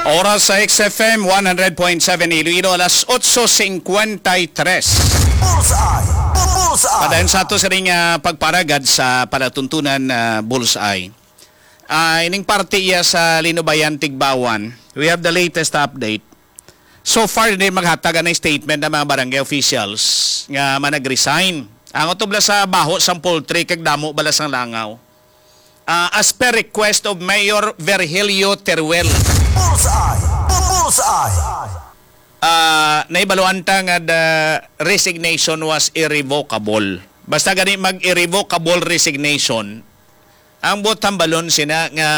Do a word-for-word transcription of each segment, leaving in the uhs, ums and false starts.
Oras sa X F M one hundred point seven Iloilo, alas otso cincuenta y tres. Bullseye! Bullseye! Padayon sa ato sining, ah, pagparagad sa palatuntunan, ah, Bullseye. Ah, ining parte iya sa Linubayan, Tigbawan. We have the latest update. So far, hindi maghatag anay statement ang mga barangay officials nga manag-resign. Ang utubla sa baho sang poultry kag damo bala sang langaw. Ah, as per request of Mayor Virgilio Teruel. Bullseye! Bullseye! Ah, naibaluan ta nga the resignation was irrevocable. Basta gani mag-irrevocable resignation, ang buot hambalon sina nga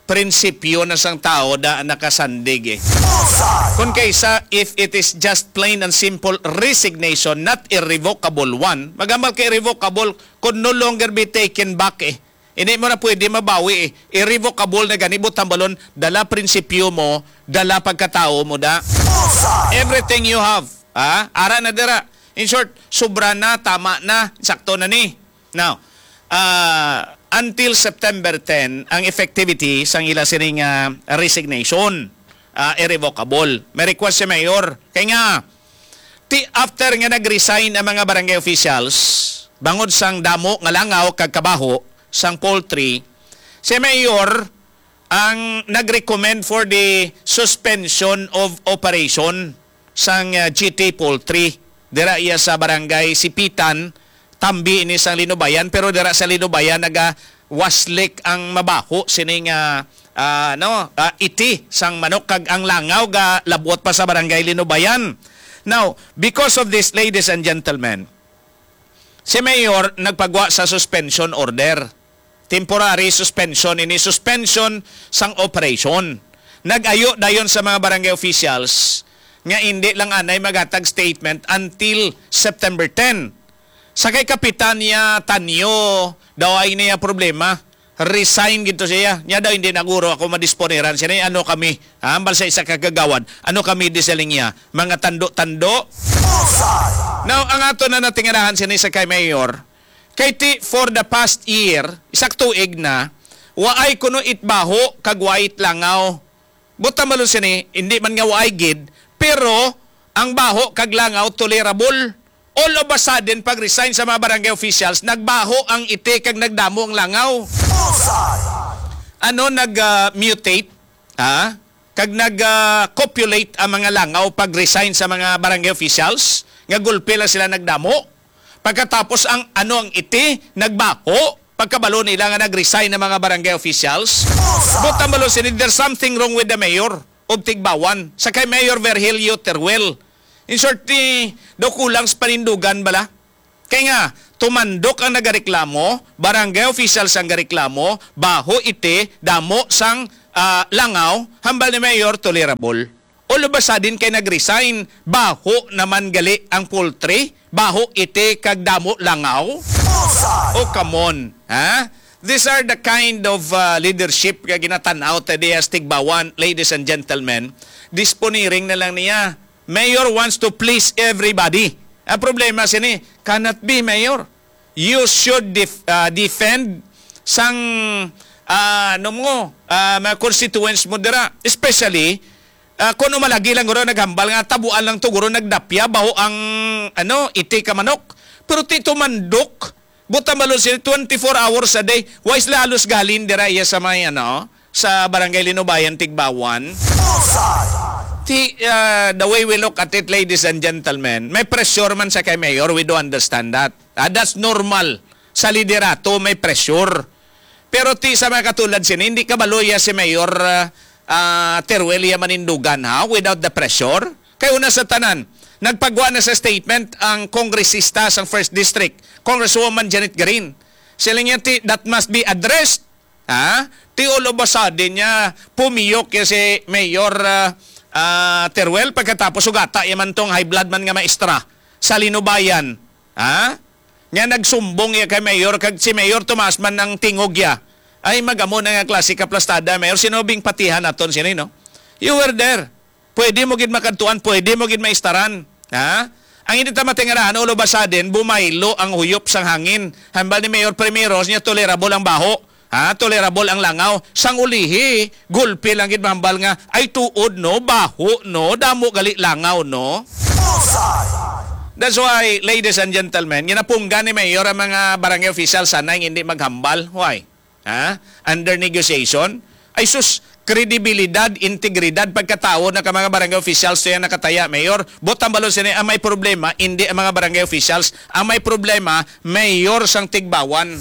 prinsipyo na sang tao da nakasandig eh. Bullseye! Kung kaysa, if it is just plain and simple resignation, not irrevocable one, magamal ka irrevocable, could no longer be taken back eh. Hindi mo na pwede mabawi eh. Irrevocable na gani, buot hambalon, dala prinsipyo mo, dala pagkatao mo da. Bullseye! Everything you have, ah, ara na dira. In short, sobra na, tama na, sakto na ni. Now, ah, until September ten, ang effectivity sang ila sining, ah, resignation, ah, irrevocable. May request si Mayor. Kay nga, ti after nga nag-resign ang mga barangay officials, bangod sang damo nga langaw kag kabaho sang poultry, si Mayor ang nag-recommend for the suspension of operation sang, ah, G T Poultry. Dira iya sa barangay Sipitan, tambi ini sang Linubayan, pero dira sa Linubayan naga waslik ang mabaho sining, ah, ah, no, ah, iti sang manok kag ang langaw ga labot pa sa barangay Linubayan. Now, because of this, ladies and gentlemen, si Mayor nagpagwa sa suspension order. Temporary suspension ini, suspension sang operation. Nag-ayo dayon sa mga barangay officials nga indi lang anay maghatag statement until September ten. Sa kay Kapitan niya Tanyo, daw ay niya problema. Resign gid to siya. Niya daw, "Hindi na guro ako madisponiran." Siya na, "Ano kami?" Ha? Hambal sa isa ka kagawad. "Ano kami?" di sa linya. "Mga tando-tando." Bullseye! Now, ang ato na natingalahan sini sa kay Mayor, kay ti, for the past year, isa ka tuig na, waay kuno it baho kag waay it langaw. Buta malo sini, hindi man nga waay gid, pero ang baho kag langaw tolerable. All of a sudden, pag resign sa mga barangay officials, nagbaho ang iti kag nagdamo ang langaw. Bullseye! Ano, nag, ah, mutate? Ha? Kag nag, ah, copulate ang mga langaw pag resign sa mga barangay officials? Nga gulpi lang sila nagdamo? Pagkatapos ang ano, ang iti, nagbaho? Pagkabalo nila nga nag-resign ang mga barangay officials? Buta malo sini, there's something wrong with the mayor of Tigbawan, sa kay Mayor Virgilio Teruel. In short, ni, daw kulang sa panindugan bala. Kay nga, tumandok ang nagareklamo, barangay officials ang gareklamo, baho iti, damo sang, ah, langaw, hambal ni Mayor, tolerable. All of a sudden kay nag-resign, baho naman gali ang poultry, baho iti kag damo langaw. Bullseye! Oh, come on, ha? These are the kind of, uh, leadership nga ginatan-aw ta diya sa Tigbawan, ladies and gentlemen. Disponiring na lang niya. Mayor wants to please everybody. Ang problema sini, cannot be, Mayor. You should def-, uh, defend sang, uh, ano mo, uh, mga constituents mo dira. Especially, uh, kung umalagi lang guro naghambal nga tabuan lang to guro nagdapya, baho ang, ano, iti ka manok. Pero ti tumandok, buta malo sila twenty-four hours a day. Why sila halos gahalin dira iya sa may, ano, sa Barangay Linubayan, Tigbawan? Bullseye! Ti, uh, the way we look at it, ladies and gentlemen, may pressure man sa kay Mayor, we do understand that. Ah, that's normal. Sa liderato, may pressure. Pero ti sa mga katulad sini, hindi kabalo iya si Mayor, ah, ah, Teruel iya manindugan, ha? Without the pressure. Kay una sa tanan, nagpagwa na sa statement ang kongresista sa first District, Congresswoman Janet Garin. Sila niya, ti, that must be addressed. Ha? Ti all of a sudden niya, pumiyok ya si Mayor, ah, ah, Teruel, pagkatapos sugata ya man tong high blood man nga maestra sa Linubayan. Ha? Nya nagsumbong iya kay Mayor, kag si Mayor tumaas man ang tingog ya. Ay, magamo na nga klase ka plastada, Mayor. Sino bing patihan naton sini, no? You were there. Pwede mo gid makadtuan, pwede mo gid maistaran. Ha? Ang hindi ta matingalahan, all of a sudden, bumaylo ang huyop sang hangin. Hambal ni Mayor Primeros niya, tolerable ang baho. Ha, tolerable ang langaw. Sang ulihi, gulpi lang gid mahambal nga, "Ay, tuod, no? Baho, no? Damo gali langaw, no?" Bullseye! That's why, ladies and gentlemen, ginapunggan ni Mayor ang mga barangay officials, sanay nga hindi maghambal. Why? Ha? Under negotiation? Ay sus, kredibilidad, integridad, pagkatao na ka mga barangay officials, to yan nakataya, Mayor. Butang balon sini ang may problema, hindi ang mga barangay officials. Ang may problema, Mayor sang Tigbawan.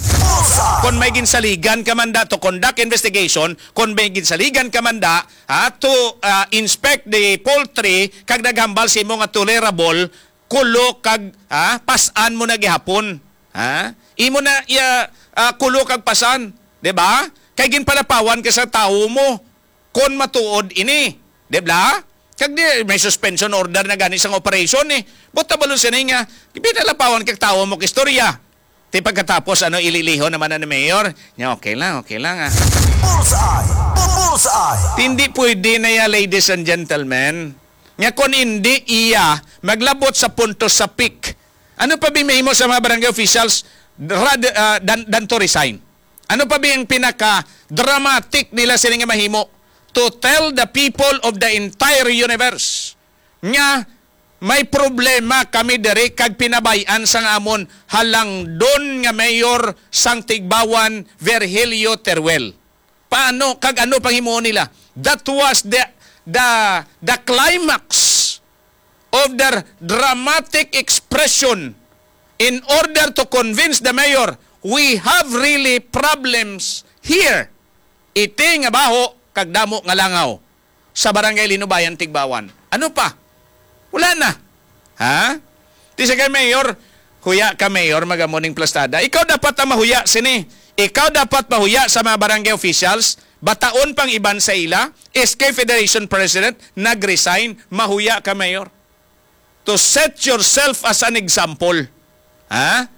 Kon may ginsaligan ka man da to conduct investigation, kon may ginsaligan ka man da, ha, to, ah, inspect the poultry, kag naghambal sa imo nga tolerable, kulo kag, ha, pasan mo na gihapon. Ha? Imo na iya, ah, kulo kag pasan, di ba? Kay ginpalapawan ka sa tawo mo kon matuod ini, di ba? Kag di, may suspension order na gani sang operation eh. Buta balon sini nga, ginpalapawan kag tawo mo kag istorya. Ti pagkatapos, ano, ililihon naman na ni Mayor? Nya, okay lang, okay lang, ah. Bullseye! Bullseye! Hindi pwede na ya, ladies and gentlemen, nga kon hindi iya maglabot sa punto sa peak. Ano pa bi mahimo sa mga barangay officials rad, ah, dan, dan to resign? Ano pa bi ang pinaka-dramatic nila sila nga mahimo to tell the people of the entire universe nga may problema kami diri kag pinabay-an sang amon halangdon nga mayor sang Tigbawan, Virgilio Teruel? Paano kag ano pang himuon nila? That was the, the, the climax of their dramatic expression in order to convince the mayor, "We have really problems here." Iti nga baho kag damo nga langaw sa Barangay Linubayan, Tigbawan. Ano pa? Wala na. Ha? Ti sa kay Mayor, huya ka, Mayor, magamuning plastada. Ikaw dapat ang mahuya sini. Ikaw dapat mahuya sa mga barangay officials. Bataon pang iban sa ila. S K Federation President, nag-resign. Mahuya ka, Mayor. To set yourself as an example. Ha?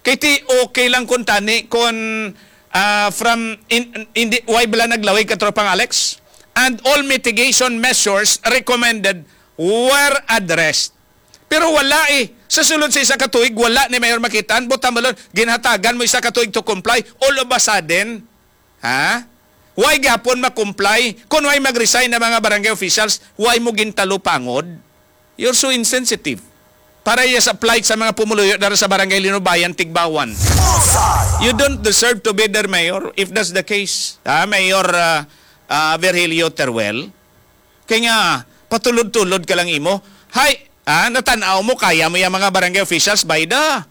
Kay ti okay lang kun tani kun, ah, from in, in the, why bala naglawig ka, Tropang Alex? And all mitigation measures recommended were addressed. Pero wala eh. Sa sulod sa isa ka tuig, wala ni Mayor makitaan. Butang balon, ginhatagan mo isa ka tuig to comply. All of a sudden, ha? Why gyapon ma-comply? Kung why mag-resign na mga barangay officials, why mo gintalupangod? You're so insensitive. Para iya sa plight sa mga pumuluyo dara sa Barangay Linubayan, Tigbawan. Bullseye! You don't deserve to be their mayor if that's the case. Ha, Mayor, ah, ah, Virgilio Teruel? Kay nga, patulod-tulod ka lang imo. Hay, ah, natan-aw mo, kaya mo yung mga barangay officials, bayda.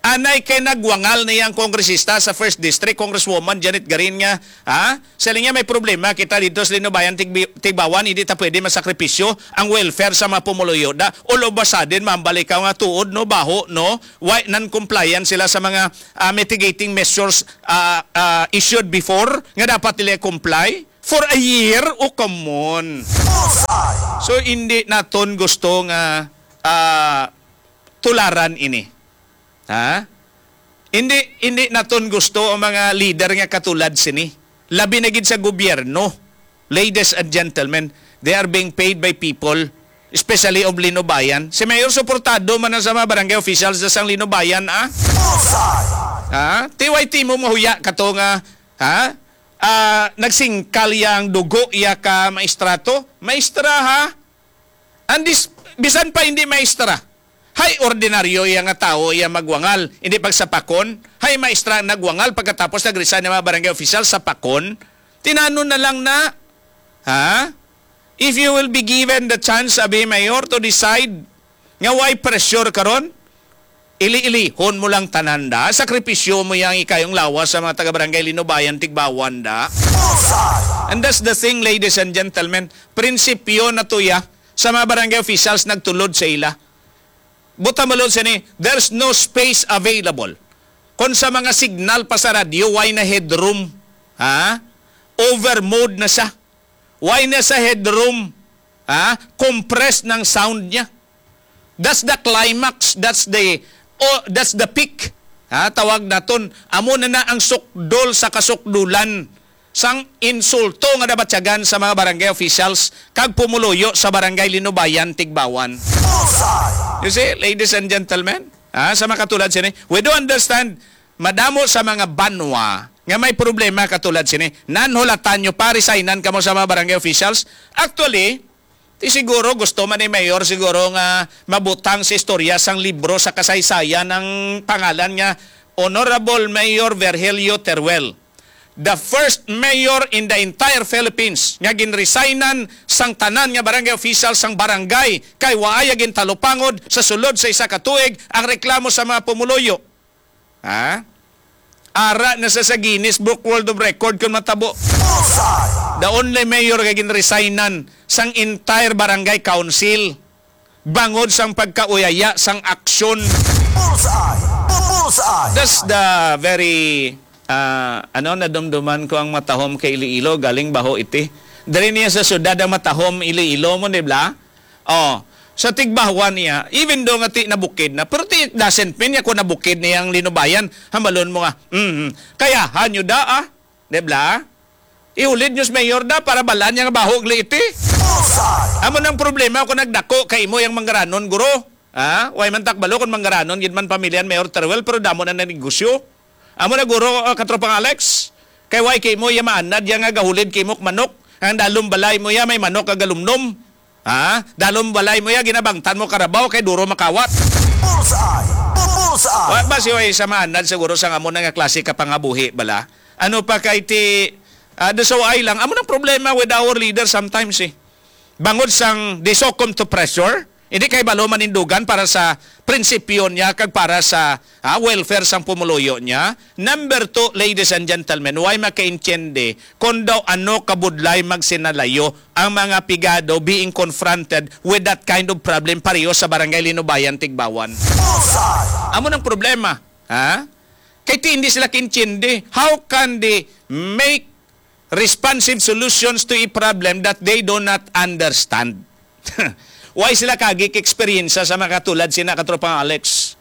Anay kay nagwangal na yang kongresista sa First District, Congresswoman Janet Garin nga, ha? Sa linya may problema kita dito sa Linubayan, Tigbi-, Tigbawan, hindi ta pwede masakripisyo ang welfare sa mga pumuluyo. Da, all of a sudden, mambalik ka nga tuod, no? Baho, no? Why non-compliant sila sa mga, ah, mitigating measures, ah, ah, issued before nga dapat nila comply? For a year? O, come on. Bullseye! So, hindi naton gusto nga, ah, tularan ini. Ha? Hindi, hindi naton gusto ang mga leader nga katulad sini. Labi na gid sa gobyerno. Ladies and gentlemen, they are being paid by people, especially of Linubayan. Si Mayor suportado man na sa mga barangay officials sa sang Linubayan, ah? Bullseye! Ha? T Y T mo mahuya ka to nga, ha? Ah, nagsingkal yang dugo iya ka maestrato? Maestra, ha? And this, bisan pa hindi maestra. Hay, ordinaryo iya nga tawo iya magwangal, hindi pagsapakon. Hay, maestra ang nagwangal pagkatapos nag-resign ang mga barangay official, sapakon. Tinanon na lang na. Ha? If you will be given the chance, abi, Mayor, to decide nga why pressure karon, ili-ilihon mo lang tanan da. Sakripisyo mo yang ikayong lawas sa mga taga-barangay Linubayan, Tigbawan da. Bullseye! And that's the thing, ladies and gentlemen. Prinsipyo na to ya sa mga barangay officials nagtulod sa ila. Buta malod sini, there's no space available. Kung sa mga signal pa sa radyo, why na headroom? Ha? Over mode na siya. Why na sa headroom? Ha? Compressed ng sound niya. That's the climax. That's the, oh, that's the peak. Ha? Tawag naton. Amo na na ang sukdol sa kasukdulan sang insulto nga nabatyagan sa mga barangay officials kag pumuluyo sa Barangay Linubayan, Tigbawan. Bullseye! You see, ladies and gentlemen, ha, sa mga katulad sini, we do understand, madamo sa mga banwa nga may problema katulad sini. Nanhulatan nyo pa, resignan kamo sa mga barangay officials. Actually, ti siguro gusto man ni Mayor siguro nga mabutang sa istorya sang libro sa kasaysayan ang pangalan nga Honorable Mayor Virgilio Teruel, the first mayor in the entire Philippines nga ginresignan sang tanan nga barangay official sang barangay kay waay gintalupangod sa sulod sa isa ka tuig ang reklamo sa mga pumuluyo. Ha? Ara na sa, sa Guinness Book World of Record kung matabo. Bullseye! The only mayor nga ginresignan sang entire barangay council bangod sang pagkauyaya sang aksyon. Bullseye! Bullseye! That's the very, ah, ano, nadumduman ko ang matahom kay Iloilo, galing baho iti. Diri niya sa syudad ang matahom Iloilo mo, di ba? Oh, sa Tigbauan niya, even though nga ti nabukid na, pero ti doesn't mean niya kung nabukid niya ang linubayan, hambalon mo nga, mm, kaya hanyo da, ah, di ba? Ihulid nyo sa mayor da para balaan niya nga bahog li iti. Bullseye! Amo nang problema kung nagdako kay imo yung manggaranon, guro. Ha? Way man takbalo kung manggaranon, gid man pamilya ni Mayor Teruel, pero damo na nanegosyo. Amo na, guro, ah, katropang Alex. Kay way kay mo iya maanad ya nga gahulid kay mo manok. Ang dalom balay mo ya may manok ka galumnom. Ha? Dalom balay mo ya ginabangtan mo karabaw kay duro makawat. Bullseye! Bullseye! Wa ba si way sa maanad siguro sa amo na nga klase ka pangabuhi bala? Ano pa kay ti, ah, the so ay lang. Amo nang problema with our leader sometimes eh. Bangod sang they succumb to pressure, hindi kay balo manindugan para sa prinsipyo niya kag para sa, ah, welfare sang pumuluyo niya. Number two, ladies and gentlemen, way makaintiende kon daw ano kabudlay magsinalayo ang mga pigado being confronted with that kind of problem pareho sa Barangay Linubayan, Tigbauan. Bullseye! Amo nang problema, ha? Kay ti hindi sila kaintiende. How can they make responsive solutions to a problem that they do not understand? Why sila kagik eksperyensya sa mga katulad sina katropang Alex?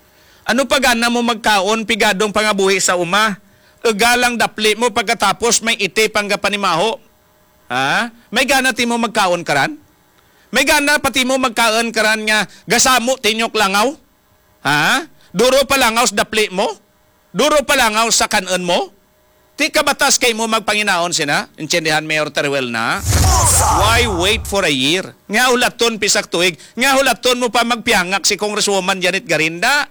Ano pa gana mo magkaon, pigadong pangabuhi sa uma? Ugalang dapli mo pagkatapos may iti pang kapanimaho. Ha? May gana ti mo magkaon karan? May gana pa ti mo magkaon karan nga gasamo tinyok langaw? Ha? Duro pa langaw sa dapli mo? Duro pa langaw sa kan-on mo? Ti kabatas kay mo magpanginaon sina? Intindihan, Mayor Teruel, na? Why wait for a year? Nga hulaton pisak tuig? Nga hulaton mo pa magpiyangak si Congresswoman Janet Garinda?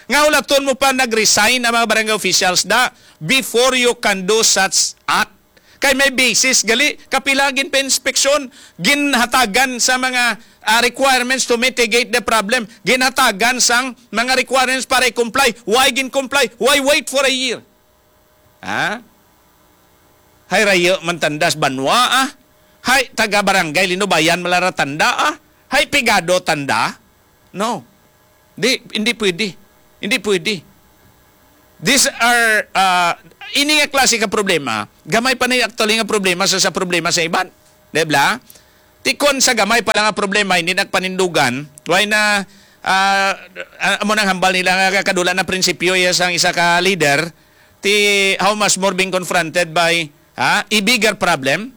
Nga hulaton mo pa nag-resign ang mga barangay officials da before you can do such act? Kay may basis gali, kapila gin pa inspeksyon, ginhatagan sa mga, ah, requirements to mitigate the problem, ginhatagan sang mga requirements para i-comply. Why gin-comply? Why wait for a year? Ha? Hay rayo man tanda sa banwa, ah. Hay taga barangay Linubayan malaratanda, ah. Hay pigado tanda. No. Di, hindi pwede. Hindi pwede. These are, uh, ini nga klase ka problema, gamay pa na actually nga problema sa, sa problema sa iban. Di ba? Tikon sa gamay pa lang nga problema, hindi nagpanindugan, why na, ah, ah, amo nang hambal nila nga kadula na prinsipyo iya sang isa ka leader, ti how much more being confronted by, ha, a bigger problem,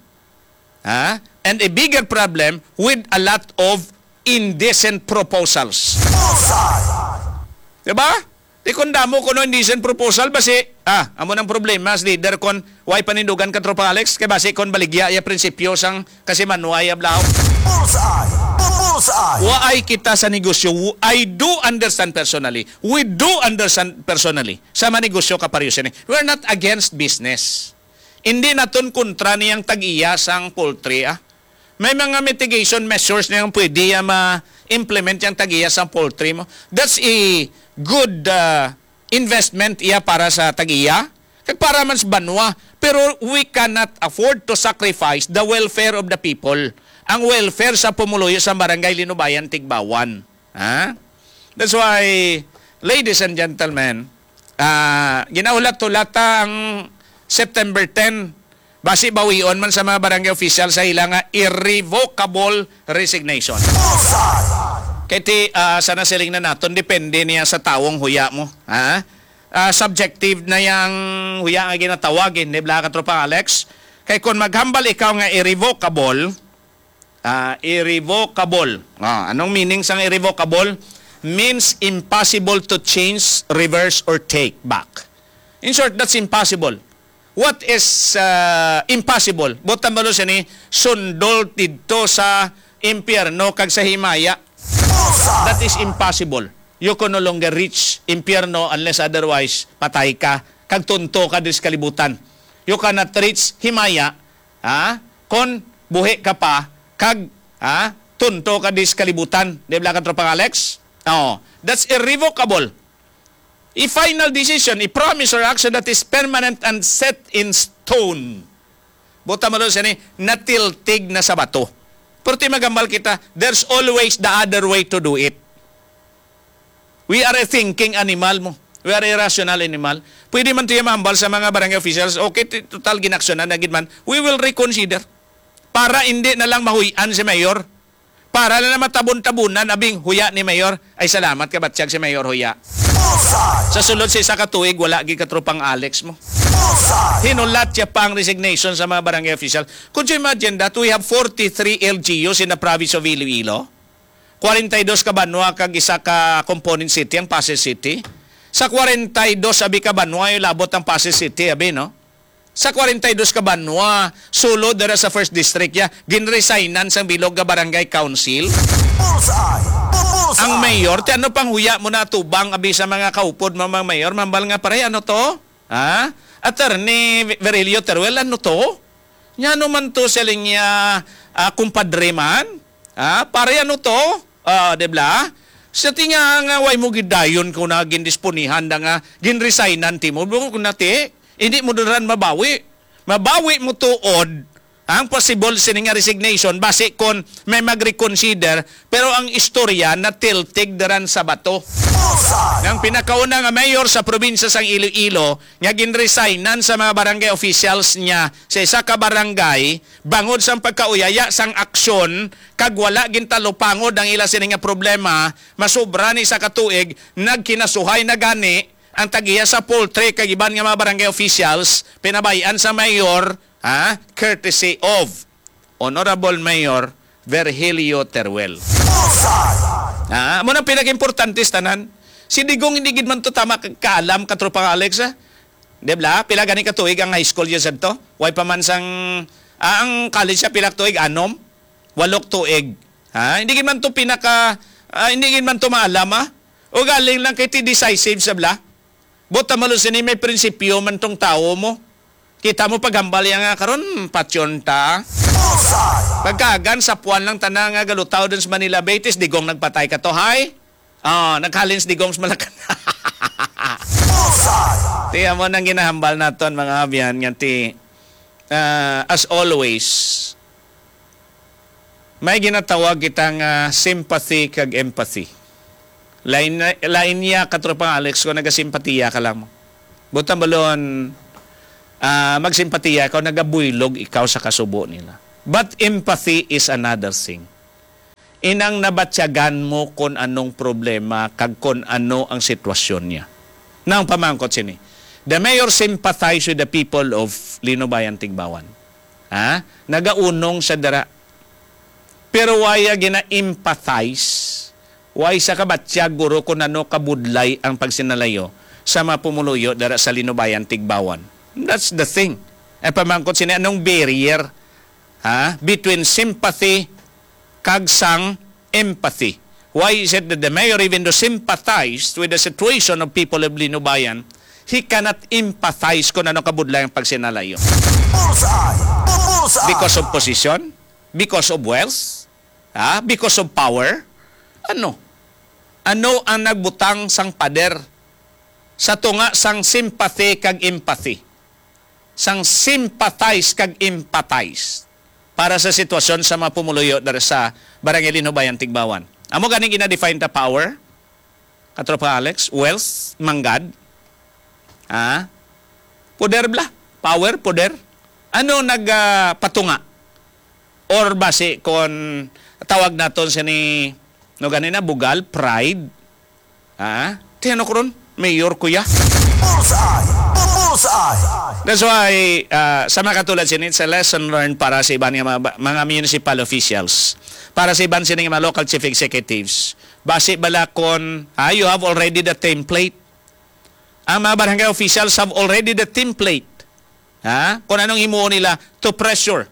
ha, and a bigger problem with a lot of indecent proposals. Bullseye! Diba? Di kon damo kuno indecent proposal, basi, ah, amo nang problema sa leader kon way panindugan ka, Tropa Alex, kay basi kon baligya iya prinsipyo sang kasimanwa iya blaw. Bullseye! Bullseye! Waay kita sa negosyo. I do understand personally. We do understand personally sa manegosyo ka pareho sini. We're not against business. Hindi naton kontra niyang tag-iya sang poultry, ah. May mga mitigation measures na yung pwede ya ma-implement yung tag-iya sa poultry mo. That's a good, uh, investment iya para sa tag-iya. Kag para man sa banwa. Pero we cannot afford to sacrifice the welfare of the people. Ang welfare sa pumuluyo sa Barangay Linubayan, Tigbauan. Ha? That's why, ladies and gentlemen, ah, ginahulat-hulata ang September ten. Basi bawion man sa mga barangay official sa ila nga irrevocable resignation. Bullseye! Kay ti, ah, sa nasiling na naton, depende niya sa tawong huya mo. Ha? Ah, subjective na yang huya nga ginatawag, hindi bala, Katropang Alex? Kay kung maghambal ikaw nga irrevocable, ah, irrevocable. Ah, anong meaning sang irrevocable? Means impossible to change, reverse, or take back. In short, that's impossible. What is, ah, impossible? Buot silingon sini, sundol didto sa impyerno kag sa himaya. That is impossible. You can no longer reach impyerno unless otherwise patay ka kag tunto ka diri sa kalibutan. You cannot reach himaya, ha? Kon buhi ka pa kag, ha, tunto ka diri sa kalibutan. Di ba, Katropang Alex? Oh, that's irrevocable. A final decision, a promise or action that is permanent and set in stone. Buot silingon sini, natiltig na sa bato. Pero ti maghambal kita, there's always the other way to do it. We are a thinking animal mo. We are a rational animal. Pwede man tiya mahambal sa mga barangay officials, okay, ti-, total ginaksyonan na gid man, we will reconsider. Para hindi na lang mahuy-an si Mayor. Para na lang matabon-tabunan, abing huya ni Mayor. Ay, salamat, kabatyag, si Mayor huya. Sa sulod sa isa ka tuig, wala gid, Katropang Alex mo. Hinulat siya pa ang resignation sa mga barangay official. Could you imagine that we have forty-three L G Us in the province of Iloilo? Kwarenta y dos ka banwa kag isa ka component city ang Pasay City. Sa kwarenta y dos abi ka banwa, yung labot ang Pasay City, abi, no? Sa kwarenta y dos ka banwa, sulod dira sa First District, ya, ginresignan sang bilog nga barangay council. Bullseye! Bullseye! Ang mayor, ti ano pang huya mo na tubang abi sa mga kaupod, mga, mga mayor, mambal nga, "Pare, ano to? Ha? Attorney Virgilio Teruel, ano to? Nya ano man to sa linya, ah, kumpadre man? Ha? Pare, ano to?" Ah, di ba? Sa tinga nga way mo gidayon ko na gindisponihan na nga ginresignan ti mo. Bukod ko na ti, hindi mo dira mabawi. Mabawi mo tuod ang possible sini nga resignation basi kon may mag-reconsider, pero ang istorya natiltig daran sa bato. Bullseye! Ang pinakauna nga mayor sa probinsya sang Iloilo nga ginresignan sa mga barangay officials niya sa isa ka barangay bangod sang pagkauyaya sang aksyon kag wala gintalupangod ang ila sini nga problema, masobra ni isa ka tuig, nagkinasuhay na gani ang tag-iya sa poultry kag iban nga mga barangay officials, pinabay-an sa mayor, ha, courtesy of Honorable Mayor Virgilio Teruel. Bullseye! Ah, amo nang pinaka-importante sa tanan. Si Digong hindi gid man to tama ka-, kaalam, Katropang Alex, ah. Di ba? Pila gani ka tuig ang high school niya sadto? Way pa man sang, ah, ang college siya, pila ka tuig? Anom? Walok tuig. Ha? Hindi gid man to pinaka, ah, hindi gid man to maalam, ah. O galing lang kay ti decisive sa bla. Buot silingon sini, may prinsipyo man tong tawo mo. Kita mo paghambal iya nga karon, patyon ta. Bullseye! Pagkaagan, sapuan lang tanan nga galutaw dun sa Manila Bay, ti si Digong nagpatay ka to, hay? Oh, naghalin si Digong sa Malacan. Bullseye! Ti amo nang ginahambal naton, mga abyan, nga ti, ah, as always, may ginatawag kita nga sympathy kag empathy. Lain, lain niya, Katropang Alex, kung nagasimpatiya ka lang mo. Buot silingon, ah, magsimpatiya ka, nagabuylog ikaw sa kasubo nila. But empathy is another thing. Inang nabatyagan mo kung anong problema kag kung ano ang sitwasyon niya. Now, ang pamangkot sini, the mayor sympathize with the people of Linubayan, Tigbauan. Ha? Nagaunong siya dira. Pero wala gina-empathize. Wala siya kabatyag, guro, kung ano kabudlay ang pagsinalayo sa mga pumuluyo dira sa Linubayan, Tigbauan. That's the thing. Ang pamangkot sini, anong barrier, ha, between sympathy kag sang empathy? Why is it that the mayor, even though sympathized with the situation of people of Linubayan, he cannot empathize kung ano kabudlay ang pagsinalayo? Bullseye! Bullseye! Because of position? Because of wealth? Ha? Because of power? Ano? Ano ang nagbutang sang pader sa tunga sang sympathy kag empathy? Sang sympathize kag empathize para sa sitwasyon sa mga pumuluyo diri sa Barangay Linubayan, Tigbauan. Amo gani gina-define ta power, Katropa Alex, wealth, manggad. Ha? Poder bala. Power, poder. Ano nag, ah, patunga? Or basi kon tawag naton sini, no, ganina, bugal, pride. Ha? Ti ano ko ron? Mayor ko ya. Bullseye! Bullseye! That's why, ah, sa mga katulad sini, it's a lesson learned para sa iban nga mga, mga municipal officials, para sa iban sini nga mga local chief executives. Basi bala kon, ah, you have already the template. Ang mga barangay officials have already the template Ha? Kung anong himuon nila to pressure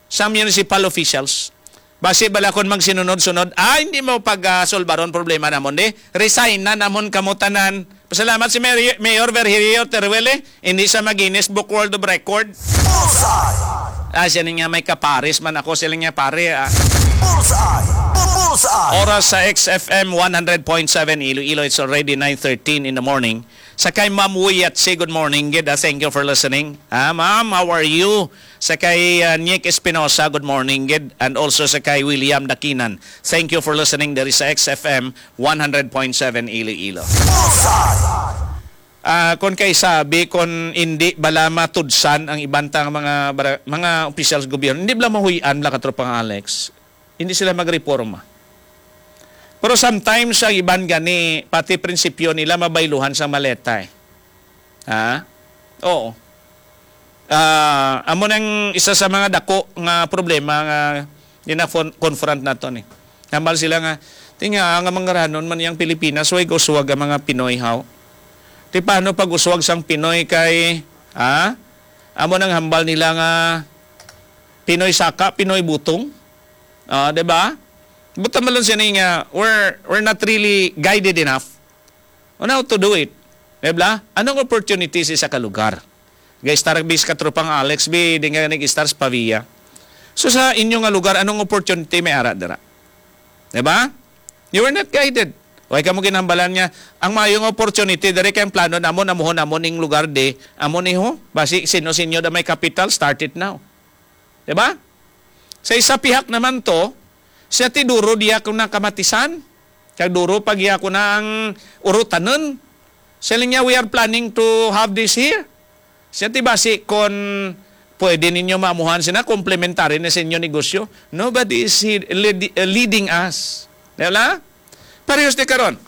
sa municipal officials. Basi bala kon magsinunod-sunod, ah, hindi mo pag, ah, solbaron problema namon, di? Resign na namon kamo tanan. Pasalamat si Mayor, Mayor Virgilio Teruel, eh. Hindi sa mag-Guinness Book World of Record. Bullseye! Ah, siya niya may kapares man ako, sila niya pare, ah. Bullseye! Bu-, bullseye! Oras sa X F M one hundred point seven Iloilo, it's already nine thirteen in the morning. Sa kay Ma'am Wiyat, say good morning, gid, ah, thank you for listening. Ah, ma'am, how are you? Sa kay, ah, Nick Espinosa, good morning, gid. And also sa kay William Dakinan, thank you for listening. There is X F M one hundred point seven Iloilo. Bullseye! Ah, kon kay sabi, kon hindi bala matudsan ang iban tang mga bara-, mga opisyal sa gobyerno, hindi bala mahuy-an bala, katropang Alex. Hindi sila magreporma. Pero sometimes, ang iban gani, pati prinsipyo nila mabayluhan sa maleta, eh. Ha? Oo. Ah, amo nang isa sa mga dako nga problema nga gina-, confront nato ni. Hambal sila nga, "Tinga nga mangaranon man yang Pilipinas, way uswag ang mga Pinoy, haw?" Ti paano pag uswag sang Pinoy kay, ha? Amo nang hambal nila nga Pinoy saka, Pinoy butong. Ah, di ba? But malon sini nga, we're, we're not really guided enough on how to do it. Di ba? Anong opportunities sa kalugar? Guys, tara bis katropang Alex, bi, di nga nag-star sa Pavia. So sa inyo nga lugar, anong opportunity may ara dira? Di ba? You were not guided. Way kamo ginhambalan nga, ang maayong opportunity, diri kay ang plano namon, amuhon namon ning lugar di, amo ni ho. Basi, sino-sino da may kapital, start it now. Di ba? Sa isa pihak naman to, siya ti duro diya ko na kamatisan, kag duro pa giya ko na ang urutanon. Siya niya, "We are planning to have this here." Siya ti basi kon pwede ninyo maamuhan sina, komplementary na sa inyo negosyo. Nobody is he-, lead-, uh, leading us. Di ba? Parehas ni karon.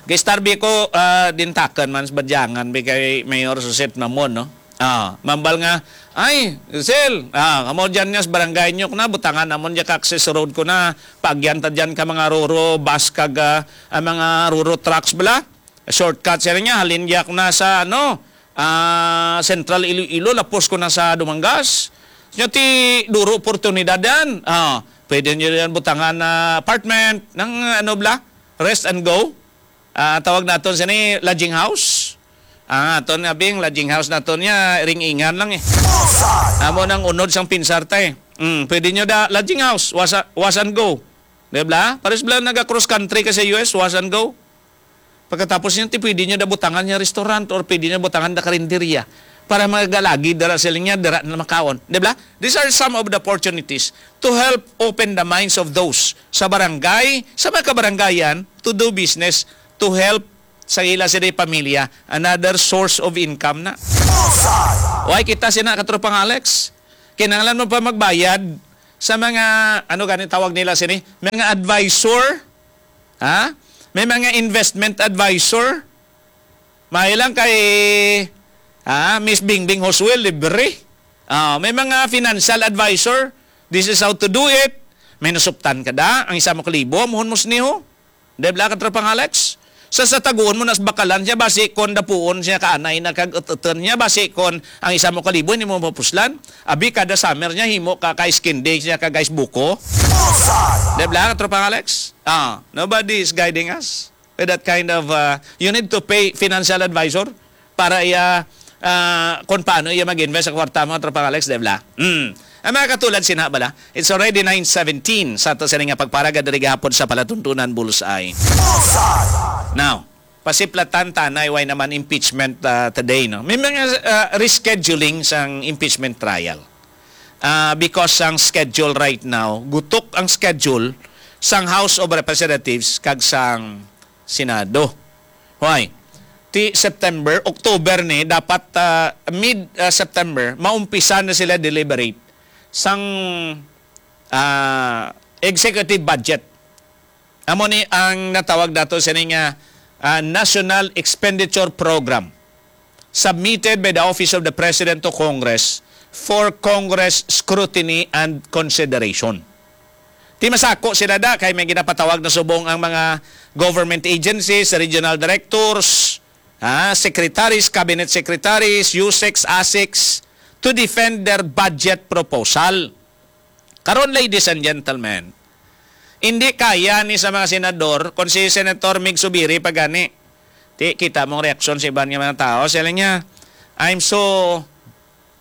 Kay istarbi ko, ah, dintakan man sa badyangan, bi kay Mayor Susit Mamon, no? Ah, mambal nga, "Ay, Giselle, ah, kamo dyan nga sa barangay nyo na, butangan namon dyan ka access road ko na, pagyan ta dyan ka mga ruro, bus kag, ah, ang mga ruro trucks bala." Shortcut siya niya, halin dyan na sa, ano, ah, Central Iloilo, lapos ko na sa Dumangas. Siya ti duro oportunidad yan. Ah, pwede nyo yan butangan na apartment, ng, ano bala, rest and go. Ah, tawag naton sini lodging house. Ah, aton nga bing lodging house naton niya, ring-ingan lang eh. Bullseye! Amo nang unod sang pinsar ta eh. Mm, pwede nyo da lodging house, was, was and go. Di ba? Pares bala naga cross country ka sa U S, was and go. Pagkatapos niya, ti pwede nyo da butangan niya restaurant or pwede nyo butangan da karinderya para magalagi dara sila niya, dara na makaon. Di ba? These are some of the opportunities to help open the minds of those sa barangay, sa mga kabaranggayan, to do business, to help sa ila sila pamilya, another source of income na. Bullseye! Why kita sina katropang Alex? Kinahanglan mo pa magbayad sa mga, ano gani tawag nila sini? Mga advisor? Ha? May mga investment advisor? May lang kay, ha? Miss Bingbing Josuel, libre. Ah, may mga financial advisor. This is how to do it. May nasuptan ka da, ang isa mo kalibo, muhon mo siniho. Di ba, katropang Alex? Sa, sa taguon mo nas bakalan siya, basi kon dapuon siya ka anay na kag ututun niya, basi kon ang isa mo kalibo, hindi mo mapuslan. Abi, kada summer niya, himo ka kay skin day siya ka guys buko. Bullseye! Di ba, katropang Alex? Ah, nobody is guiding us with that kind of, uh, you need to pay financial advisor para iya, ah, kung paano iya mag-invest sa kwarta mo, Tropang Alex, di ba? Mm. Ang mga katulad, sinha bala, it's already nine seventeen sa ato sini nga pagparaga diri gahapon sa Palatuntunan Bullseye. Bullseye! Now, pasiplatan tanay, why naman impeachment, ah, today, no? May mga, ah, rescheduling sang impeachment trial. Ah, because ang schedule right now, gutok ang schedule sang House of Representatives kag sang Senado. Why? Ti September, October ni, dapat, ah, mid, ah, September, maumpisa na sila deliberate sang, ah, executive budget. Amo ni ang natawag nato sini nga, ah, National Expenditure Program, submitted by the Office of the President to Congress for Congress scrutiny and consideration. Ti masako sila da kay may ginapatawag na subong ang mga government agencies, regional directors, ha, secretaries, cabinet secretaries, usecs, asecs, to defend their budget proposal. Karon, ladies and gentlemen, hindi kaya ni sa mga senador, kung si Senator Mig Subiri pa gani, ti, kita mong reaksyon sa iban nga mga tao. Sila niya, "I'm so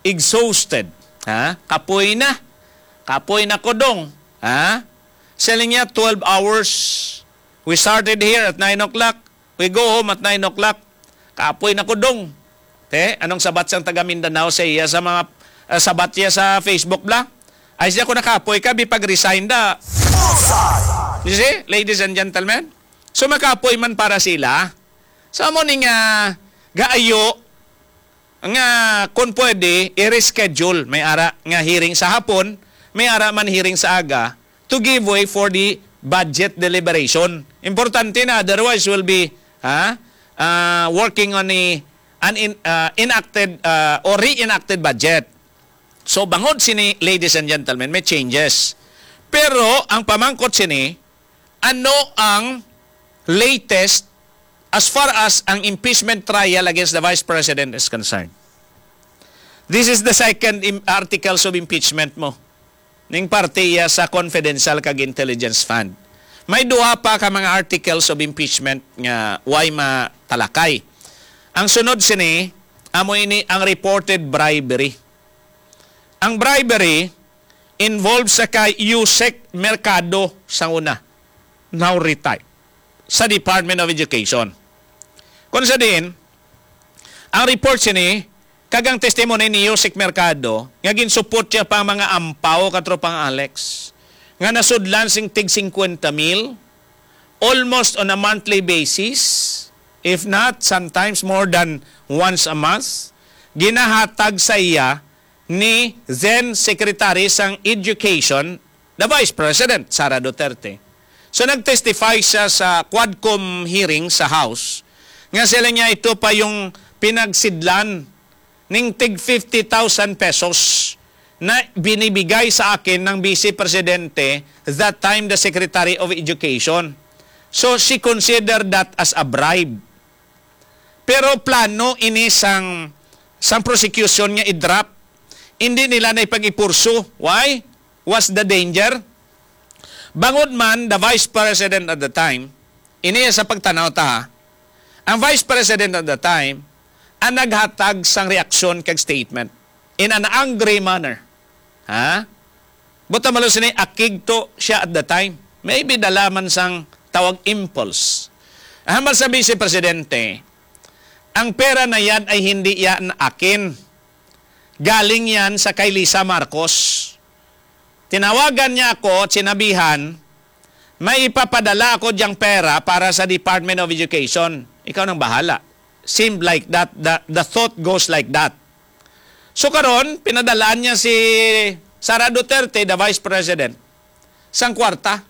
exhausted." Ha? Kapoy na. Kapoy na ko, dong. Ha? Sila niya, "Twelve hours. We started here at nine o'clock. We go home at nine o'clock. Kapoy na ko, dong." Te, anong sabat sang taga Mindanao sa iya sa mga, ah, sabat niya sa Facebook bla? Ay siya, kung nakapoy ka, bi pag-resign da. You see, ladies and gentlemen? So, makapoy man para sila. So, amo ni nga gaayo nga kung pwede, i-reschedule. May ara nga hearing sa hapon, may ara man hearing sa aga, to give way for the budget deliberation. Importante na, otherwise we'll be, ha, ah, working on a, an in, ah, enacted, ah, or reenacted budget. So, bangod sini, ladies and gentlemen, may changes. Pero ang pamangkot sini, ano ang latest as far as ang impeachment trial against the Vice President is concerned? This is the second im- articles of impeachment mo. Ning parte iya sa confidential kag intelligence fund. May duha pa ka mga articles of impeachment nga way matalakay. Ang sunod sini, amo ini ang reported bribery. Ang bribery involved sa kay Usec Mercado sa una, now retired, sa Department of Education. Kung sa din, ang report sini, kag ang testimony ni Usec Mercado, nga ginsupot siya pa ang mga ampaw, Katropang Alex, nga nasudlan sing tig fifty mil, almost on a monthly basis, if not, sometimes more than once a month, ginahatag sa iya ni then Secretary sang Education, the Vice President, Sara Duterte. So, nag-testify siya sa Quadcom hearing sa House nga sila niya, ito pa yung pinagsidlan ning tig fifty thousand pesos na binibigay sa akin ng Vice Presidente that time, the Secretary of Education. So, she considered that as a bribe. Pero plano ini sang, sang prosecution nga i-drop. Hindi nila na ipag-ipursu. Why? What's the danger? Bangod man, the Vice President at the time, ini sa pagtanaw ta, ha, ang Vice President at the time ang naghatag sang reaksyon kag statement in an angry manner. Ha? Buta malo sini, akig to siya at the time. Maybe dala man sang tawag impulse. Ang hambal sa Vice Presidente, ang pera na yan ay hindi yan akin. Galing yan sa kay Lisa Marcos. Tinawagan niya ako at sinabihan, "May ipapadala ako diyang pera para sa Department of Education." Ikaw nang bahala. Seemed like that, the, the thought goes like that. So karon, pinadalaan niya si Sara Duterte, the Vice President, sang kwarta.